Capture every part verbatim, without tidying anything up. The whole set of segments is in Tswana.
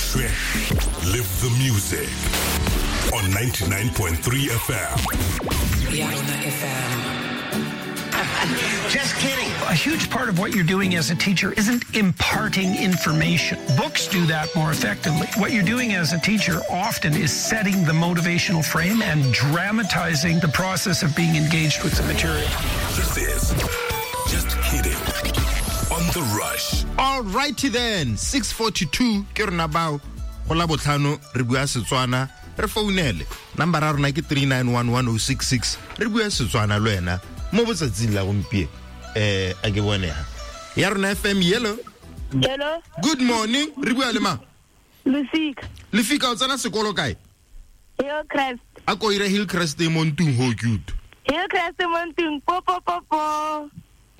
Shwe. Live the music on ninety-nine point three F M. Yarona F M. Just kidding. A huge part of what you're doing as a teacher isn't imparting information. Books do that more effectively. What you're doing as a teacher often is setting the motivational frame and dramatizing the process of being engaged with the material. This is Just Kidding on The Rush. All righty then, six forty-two, ke rona bao, go la botlhano, re bua Setswana, re founele. Number ya rona ke three nine one one oh six six. Re bua Setswana le wena mo botsatsing la gompieno. Eh, a ke bone ha. Ya rona F M, hello. Hello. Good morning. Re bua le mang? Lefika. Lefika, o tsena sekolo kae? Hillcrest. A ko ire Hillcrest e mo ntung ho cute. Hillcrest mo ntung po po po po.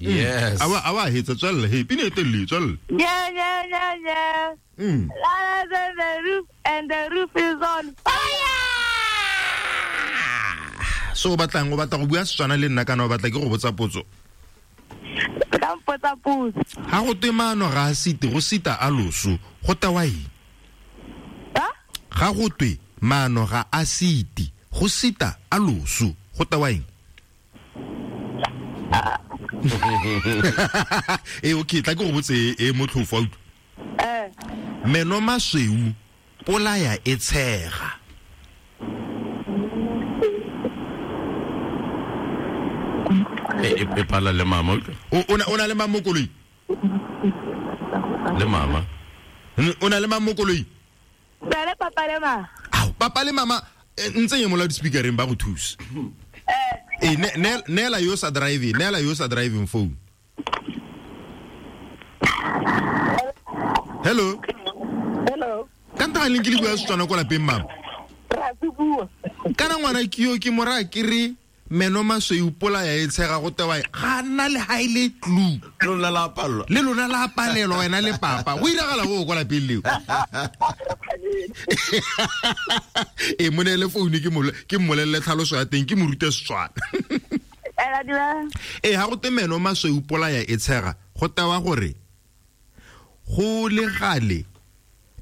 Yes. Awa awa hetsa tswella he pine telele tswella. Yeah yeah yeah yeah. Mm. La la the roof and the roof is on fire. So batlang o batla go bua Setswana le nna kana o batla ke go botsa potso? Ka mpotsa potso. Ha go twe maano ga a site go sita a loso go tewa eng? Ha? Ga go twe maano ga a site go sita a loso go tewa eng? Eh okay, tla ke go botse e motlhofo a utlwa. Eh. Meno masweu polaya e tshega. E e pala le mama. O o na le mama koloi? Le mama. O na le mama koloi? Bele papa le mama. Ao, papa le mama ntse ye mo loudspeakereng ba go thusa. Eh ne neela yo sa driving, neela yo sa driving phone. Hello. Hello. Ka nta leng ke le bua Setswana ko lapeng mama? Ra se bua. Kana ngwana ke yo ke mora ke re meno masweu polaya e tshega go tewa ga nna le ha ile clue. Lona la palelwa. Le lona la palelwa wena le papa. Go iragala go kwa lapeng leo. E mo neele phone ke mo ke mmolelle tlhaloso ya teng ke mo rute Setswana. Ela dira. E ha go te meno masweu polaya e tshega go tewa gore go le gale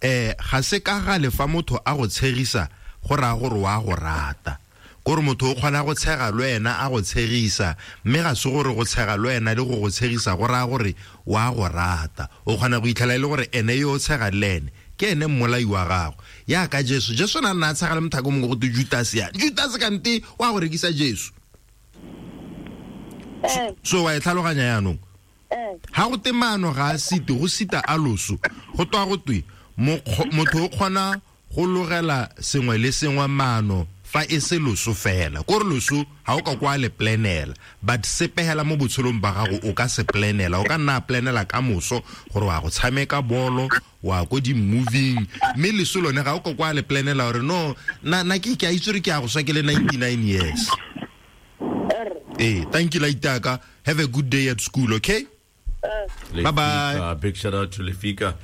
eh ga se ka gale fa motho a go tshegisa go raya gore wa go rata. Gore motho o kgona go tshega le wena a go tshegisa mme ga se gore go tshega le wena le go go tshegisa go raya gore wa go rata. O kgona go itlhela e le gore ene yo o tshega le ene ke ene mmolai wa gago. Ya ka Jesu, Jesu na nna a tshega le mothako mongwe go te Judas ya. Judas kante wa go rekisa Jesu. So wa e tlhaloganya yaanong? Ha go te maano ga a site go sita a loso go twa go twe motho o kgona go logela sengwe le sengwe maano fa e se loso fela. Kore loso ha o ka kwa le planela, but sepegela mo botshelong ba gago o ka se planela. O ka nna planela ka moso gore wa go tshameka bolo, wa ko di moving, mme leso lone ga o ka kwa le planela gore no na na ke ke a itse gore ke a go swa ke le ninety-nine years. Eh, thank you Laitaka. Have a good day at school, okay? Bye bye. Big shout out to Lefika.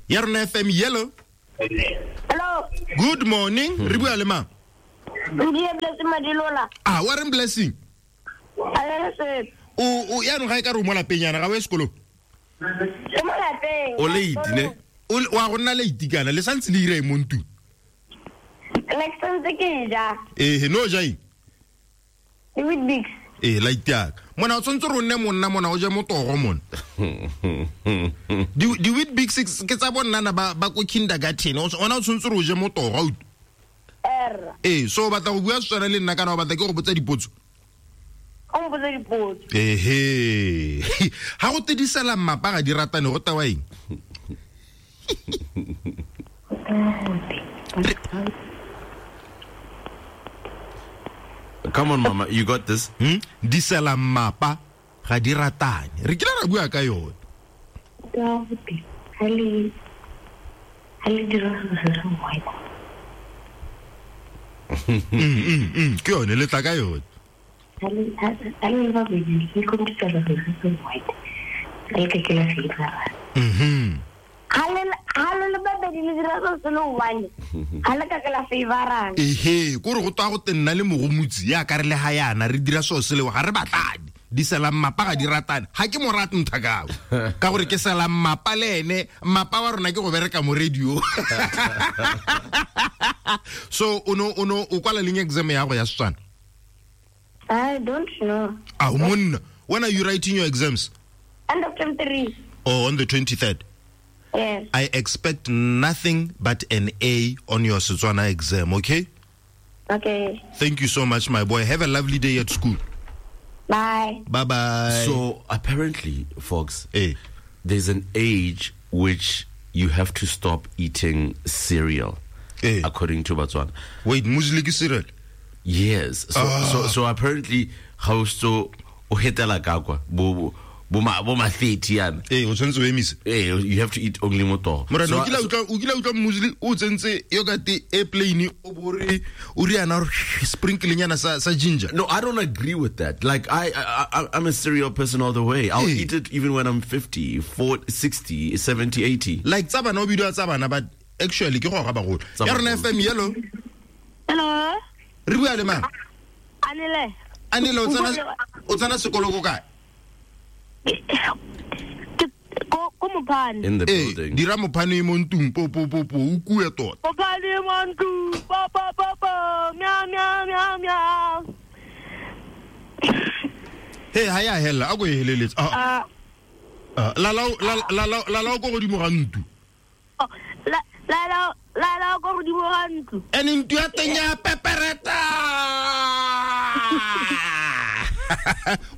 Yarona F M, yellow. Hello. Good morning. Re bua le mang? Blessing Madilola. Ah, Warren Blessing. O o ya no ga e ka re mo lapeng yana ga o ye sekolong. Ke mo lapeng. O late ne? O wa go nna late kana le santse le ire mo ntung. Le santse ke ja. Eh no ja eng? Weet-Bix. Eh late ya. Mona o tshwantse re nne monna mona o je motogo mona. Di di Weet-Bix ke tsa bonnana ba ba ko kindergarten. Ona o tshwantse re o je motogo o. Eh, so batla go bua Setswana le nna kana o batla ke go botsa dipotso? O mpotsa dipotso. Ehe. Ha go tedisela mmapa ga di ratane go tewa eng? Come on mama, you got this. Hmm? Disela mmapa ga di ratane. Re kile ra bua ka yone. Ka ha le ha le dira se se white. Mm mm mm ke yone le tla ka yone. Ha le ha le ba bedi ke computer se se white. Le ke ke la fela. Mhm. Ha le ha le ba bedi le dira se se one. Ha le ka ke la favorang. Ehe, go re go twa go tenna le mogomutsi ya ka re le ha yana re dira so se le ga re batlane. Di sela mmapa ga di ratane. Ga ke mo rate nthakao. Ka gore ke sela mmapa le ene, mmapa wa rona ke go bereka mo radio. So o no o no o kwala leng exam ya go ya Setswana? I don't know. Ah, monna, when are you writing your exams? End of term three. Oh, on the twenty-third. Yes. I expect nothing but an A on your Setswana exam, okay? Okay. Thank you so much, my boy. Have a lovely day at school. Bye. Bye-bye. So apparently, folks, eh. there's an age which you have to stop eating cereal, eh. according to Botswana. Wait, muesli ke cereal? Yes. So, ah. so, so apparently, how so o hetela ka kwa bo bo ma bo ma thirty yana. Eh, o tshwanetse o emise. Eh, you have to eat only motogo. Morena, o kile utlwa o kile utlwa muesli o tsentse yogurt e plain o bore o riana sprinkling yana sa sa ginger. No, I don't agree with that. Like I, I, I I'm a cereal person all the way. I'll hey. eat it even when I'm fifty, forty, sixty, seventy, eighty. Like tsa bana o bidiwa tsa bana, but actually ke go ga bagolo. Ya rona F M yellow. Hello. Re bua le mang? Anele. Anele o tsena o tsena sekolo ko kae? Ko ko Mopane. In the building. Dira Mopane mo ntung po po po po o kue tota. Mopane mo ntung po po po po mia mia mia mia. Hey, ha ya hella a go e heleletse. Ah. La la la la la la ko godimo ga ntu. La la la la la ko godimo ga ntlo. Ene ntu ya teng ya pepereta.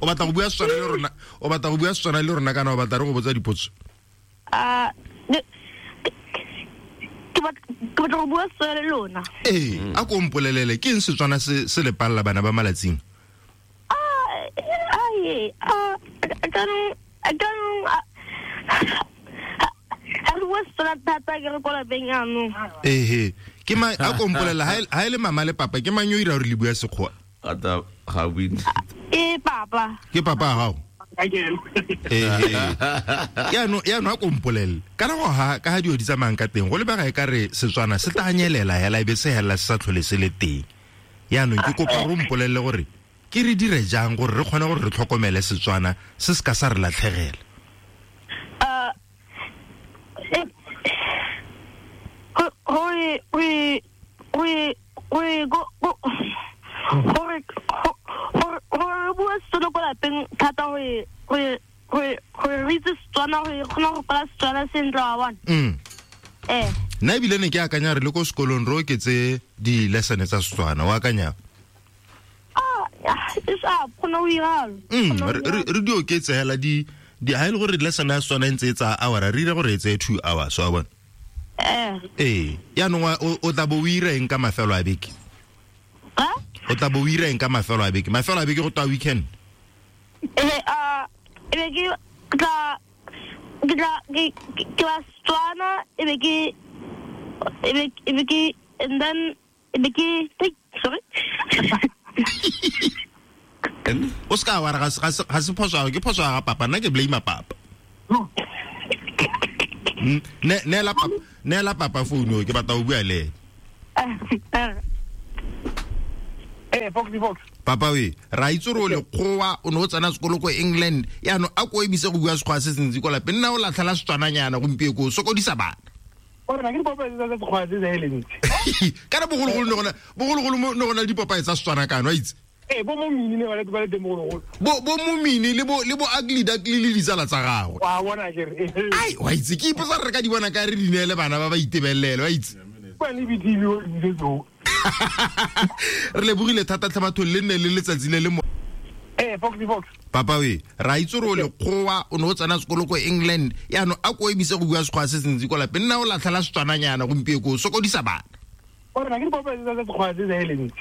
O batla go bua Setswana le rona, o batla go bua Setswana le rona kana o batla re go botsa dipotso? Ah, ke batla go bua Setswana le lona. Eh, a ko mpolelele ke eng Setswana se se le palla bana ba malatsing? Ah, ai, ah, jaanong jaanong ha re bua Setswana thata ke re ko lapeng jaanong. Ehe, ke ma a ko mpolelela ha e le mama le papa ke mang yo ira gore le bua Sekgowa? Ata ga win. E papa. Ke papa ga gago? Eh. Ya no ya no a kompolele. Kana go ha ka ha dio di tsamayang ka teng go lebega e ka re Setswana se tla nyelela hela ebe se hela se sa tlhole se le teng. Ya no ke kopa go mpolelle gore ke re dire jang gore re kgone gore re tlhokomele Setswana se se ka sa re latlhegela. Uh we we we we go go gore gore gore bua Setswana ko lapeng thata gore gore gore gore re itse Setswana gore kgona go kwala Setswana sentle wa bona. Mm. Eh. Nna ebile ne ke akanya re le ko sekolong re oketse di-lesson tsa Setswana, o akanya? Ah, e sa kgona go iralo. Mm, re di oketse hela di di ha e le gore lesson ya Setswana e ntse e tsaya hour, re dire gore e tseye two hours, wa bona? Eh. Eh, yaanong o tla bo o ira eng ka mafelo a beke? Ha? O tla bo o ira eng ka mafelo a beke? Mafelo a beke go twa weekend. Eh, ah, e be ke tla ke tla ke ke wa Setswana e be ke e be e be ke and then e be ke sorry. O ska wa re ga ga se phoso ke phoso ga papa, nna ke blame papa. Ne ne la papa ne la papa phone ke batla o bua le. Eh, Foxy Fox. Papa we, ra itse gore o lekgowa o ne o tsena sekolo ko England. Yaanong a ko emise go bua Sekgowa se sentsi ko lapeng, nna o latlhela Setswananyana gompieno ko sokodisa bana. Ore na ke dipopae tsa Sekgowa tse sa eleng. Kana bogologolo ne gona bogologolo ne gona le dipopae tsa Setswana kana wa itse. Eh, bo momini ne ba le ba le teng bogologolo. Bo bo momini le bo le bo ugly duckly le ditsala tsa gagwe. Wa bona ke re. Ai, wa itse ke ipotsa re ka di bona ka re di neele bana ba ba itebelele, wa itse. Kwa le B T V o di tso. Re lebogile thata tlhe batho le nne le letsatsi le le mo. Eh, Foxy Fox. Papa we, ra itse gore o lekgowa o ne o tsena sekolo ko England. Yaanong a ko emise go bua Sekgowa se sentsi ko lapeng, nna o latlhela Setswananyana gompieno ko sokodisa bana. Ore na ke dipopae tsa Sekgowa tse sa eleng.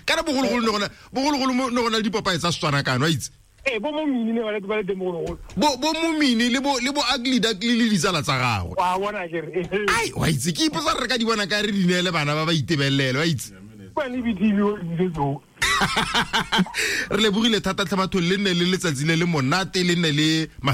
Kana bogologolo ne gona bogologolo ne gona le dipopae tsa Setswana kana wa itse. Eh, bo momini ne ba le ba le teng bogologolo. Bo bo momini le bo le bo ugly duckly le ditsala tsa gagwe. Wa bona ke re. Ai, wa itse ke ipotsa re ka di bona ka re di neele bana ba ba itebelele, wa itse. Kwa le B T V o di tso. Re lebogile thata tlhe batho le nne le letsatsi le le monate le nne le